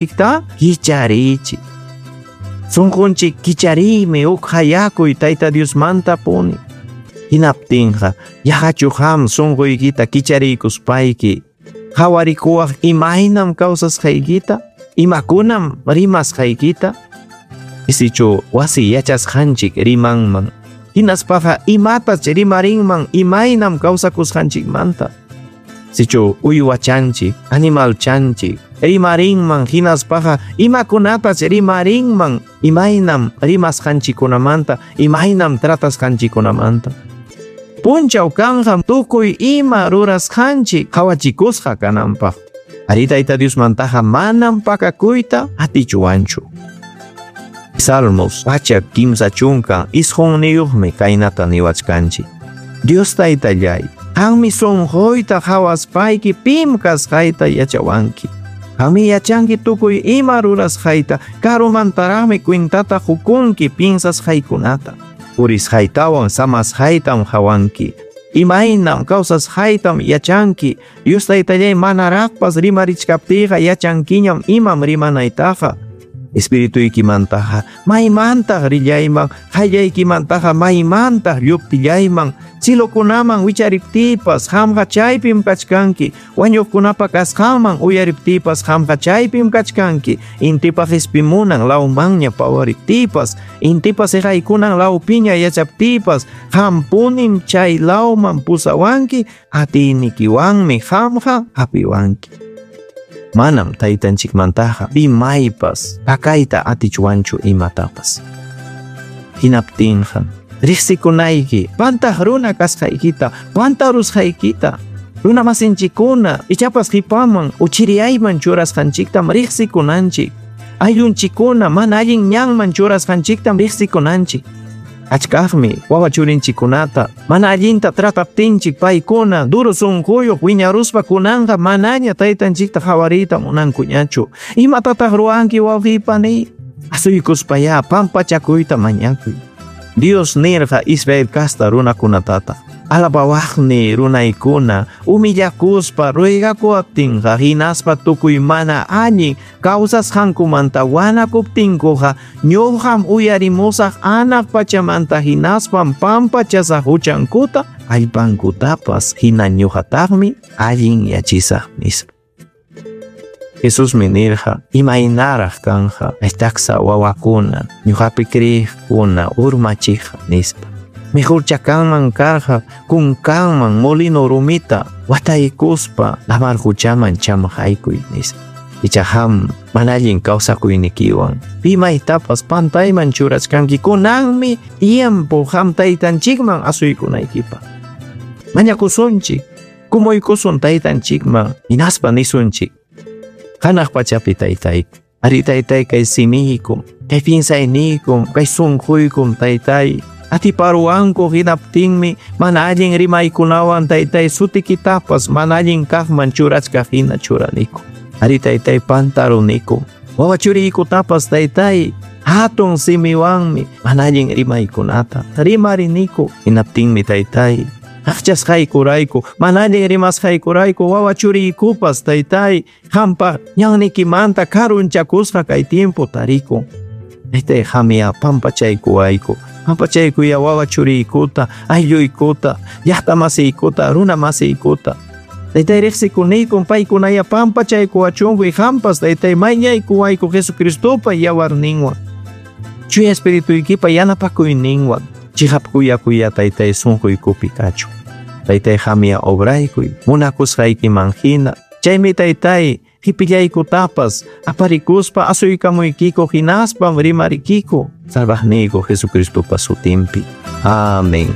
Sunqunchikta kichariychik. Sunqunchik kichariymi huk hayakuy Tayta Diosmanta puni. Hinaptinqa yaqachu qam sunquykita kichariykuspayki qawarikuwaq imaynam kawsasqaykita, imakunam rimasqaykita? Sichu wasi yachasqanchik rimanman, hinaspaqa imatach rimarinman imaynam kawsakusqanchikmanta. Sichu uywachanchik, animalchanchik, rimarinman hinaspaqa imakunatach rimarinman imaynam rimasqanchikkunamanta, imaynam tratasqanchikkunamanta. Punchaw kanqa tukuy ima rurasqanchik qawachikusqa kananpaq. Arí, Tayta Diosmantaqa manam pakakuyta atichwanchu. Salmos 139mi kaynata niwachkanchik. Dios Taytallay, qanmi sunquyta qawaspayki pim kasqayta yachawanki. Qanmi yachanki tukuy ima rurasqayta, karumantaraqmi cuentata qukunki piensasqaykunata. Purisqaytawan samasqaytam qawanki. Imaynam kawsasqaytam yachanki. Dios Taytallay, manaraqpas rimarichkaptiyqa yachankiñam imam rimanaytaqa. Espirituykimantaqa maymantaq rillayman, qayllaykimantaqa maymantaq lluptillayman, cielokunaman wichariptiypas qamqa chaypim kachkanki, wañuqkunapa kasqanman uyariptiypas qamqa chaypim kachkanki, intipa qispimunan lawmanña pawariptiypas, intipa siqaykunan lawpiña yachaptiypas, qampunim chay lawman pusawanki, atiynikiwanmi qamqa hapiwanki. Manam taytanchikmantaqa pimaypas pakayta atichwanchu imatapas. Hinaptinqa riqsikunayki pantaq runa kasqaykita, pantarusqaykita, runa masinchikkuna ichapas qipaman uchiriyayman churasqanchiktam riqsikunanchik, ayllunchikkuna mana allin ñanman churasqanchiktam riqsikunanchik. Achkaqmi wawa churinchikkunata mana allinta trataptinchik paykuna duro sunquyuq wiñaruspa kunanqa manaña taytanchikta qawariyta munankuñachu. Imatataq ruwanki wawqiy paniy? Asuykuspayá pampachakuyta mañakuy. Dios nirqa Israel casta runakunatataq, alabawaqni runaykuna humillakuspa ruegakuwaptinqa hinaspa tukuy mana allin kawsasqankumanta wanakuptinkuqa ñuqam uyarimusaq anaq pachamanta hinaspam pampachasaq huchankuta allpankutapas hina ñuqataqmi allinyachisaq nispa. Jesusmi nirqa imaynaraq kanqa taksa wawakuna ñuqapi creeqkuna urmachiqqa nispa. Mejorcha kanman karqa kunkanman molino rumita wataykuspa lamar huchaman chamqaykuy nispa. Icha qam mana allin kawsakuynikiwan pimaytapas pantayman churachkanki kunanmi tiempo qam taytanchikman asuykunaykipaq. Mañakusunchik, kumuykusun taytanchikman hinaspa nisunchik. Hanaq pachapi taytayku, ari taytay kay simiykum, kay piensayniykum, kay sunquykum taytay. Atiparuwanku hinaptinmi mana allin rimaykunawan taytay sutikitapas mana allin kaqman churachkaq hina churaniku. Ari taytay pantaruniku. Wawa churiykutapas taytay hatun simiwanmi mana allin rimaykunata rimariniku. Hinaptinmi taytay aqchasqaykurayku, mana allin rimasqaykurayku wawa churiykupas taytay qampa ñanniykimanta karunchakusqa kay tiempo tarikun. Taytay qamya pampachaykuwayku. Pampachaykuya wawa churiykuta, aylluykuta, llaqta masiykuta, runa masiykuta. Taytay riqsikuniykum paykunaya pampachaykuwachunku qampas taytay mañaykuwayku Jesucristopa yawarninwan. Chuya espirituykipa yanapakuyninwan chiqap kuyakuya taytay sunquykupi kachun. Taytay qamya obraykuy munakusqaykiman hina. Chaymi taytay qipillaykutapas aparikuspa asuykamuykiku hinaspam rimarikiku salvaqniyku Jesucristopa sutinpi. Amén.